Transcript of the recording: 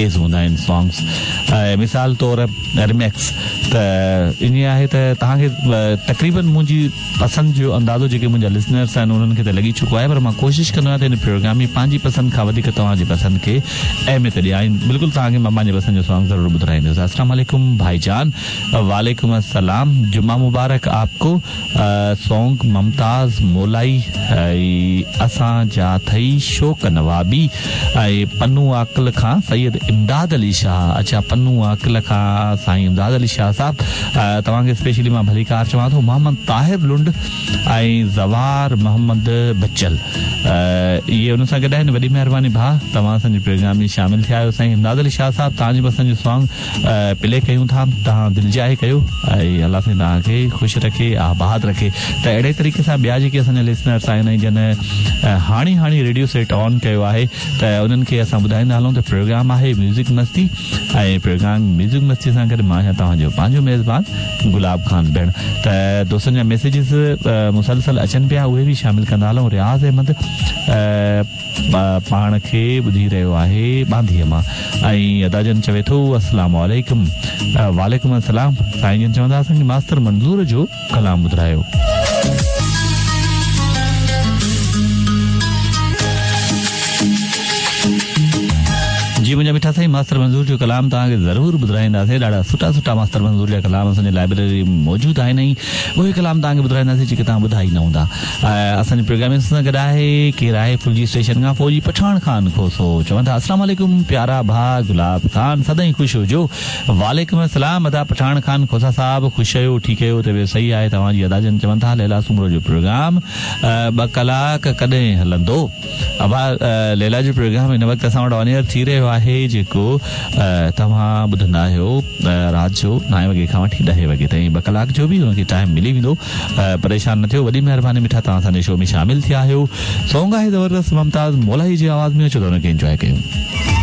تيز هوندا آهن سانگس ۽ مثال طور ريمڪس ته ائين آهي ته توهان کي تقريبن منهنجي پسند جو اندازو جيڪي منهنجا لسنرس آهن انهن کي ته لڳي چڪو آهي پر مان ڪوشش ڪندو آهيان ته هن پروگرام ۾ پنهنجي پسند کان وڌيڪ توهان جي پسند کي اهميت ڏيان ۽ بلڪل توهان کي مان پنهنجي پسند جو سانگ ضرور ٻڌرائيندس السلام عليڪم ڀائي جان وعليڪم السلام جمعه مبارڪ آپ ڪو سونگ ممتاز مولائي ۽ اسان جا ٿئي شوق نوابي ۽ پنو عاقل کان سيد امداد علي شاهه اڇا پنو عاقل کان سائين امداد علي شاهه صاحب توهان کي اسپيشلي مان ڀليڪار چوان ٿو محمد طاهر لنڊ ۽ زوار محمد بچل اهي ان سان گڏ آهن وڏي مهرباني ڀاء توهان اسان جي پروگرام ۾ شامل ٿيا آهيو سائين امداد علي شاهه صاحب توهان جي پسند جو سانگ پلي ڪيون ٿا توهان دلجاء ڪيو ۽ الله سائين توهان کي خوش رکي آباد رکي ته اهڙي طريقي سان ٻيا جيڪي اسان جا لسنرس آهن ۽ جن هاڻي هاڻي ريڊيو سيٽ آن ڪيو آهي ته انهن کي اسان ٻڌائيندا هلون ته پروگرام آهي ميوزڪ مستي ۽ پروگرام ميوزڪ مستي سان گڏ مان آهيان توهان جو پنهنجو ميزبان گلاب خان بهڻ ته دوستن جا ميسيجز مسلسل اچن پيا اهي به شامل ڪندا هلون رياض احمد پاڻ کي ٻڌي رهيو آهي ٻانڌيء مان ۽ ادا جن چوي ٿو السلام عليڪم وعليڪم السلام سائين جن چوندا اسان کي ماستر منظور جو ڪلام ٻڌرايو. جي منهنجا مٺا سائين ماستر منظور جو ڪلام توهان کي ضرور ٻڌرائينداسين ڏاڍا سٺا سٺا ماستر منظور جا ڪلام اسان جي لائبريري ۾ موجود آهن ۽ اهي ڪلام توهان کي ٻڌرائينداسين جيڪي توهان ٻڌا ئي نه هوندا. اسان جي پروگرام ۾ اسان سان گڏ آهي ڪير آهي ڦلجي اسٽيشن کان فوجي پٺاڻ خان کوسو چون ٿا السلام عليڪم پيارا ڀاء گلاب خان سدائين خوش هجو وعليڪم السلام ادا پٺاڻ خان کوسا صاحب خوش آهيو ٺيڪ آهيو طبيعت صحيح آهي توهان جي ادا جن چون ٿا ليلا سومرو جو پروگرام ٻه ڪلاڪ ڪڏهن هلندو ابا ليلا جو پروگرام هن وقت اسان وٽ آن ايئر ٿي رهيو آهي جيڪو توهان ٻڌندا آهيو رات جو نائين وڳي کان وٺي ڏهين وڳي تائين ٻه ڪلاڪ جو به ان کي ٽائيم ملي ويندو پريشان نه ٿيو وڏي مهرباني مٺا توهان اسان جي شو ۾ شامل ٿيا آهيو سونگ آهي زبردست ممتاز مولائي جي آواز ۾ اچو ته ان کي انجواء ڪيون.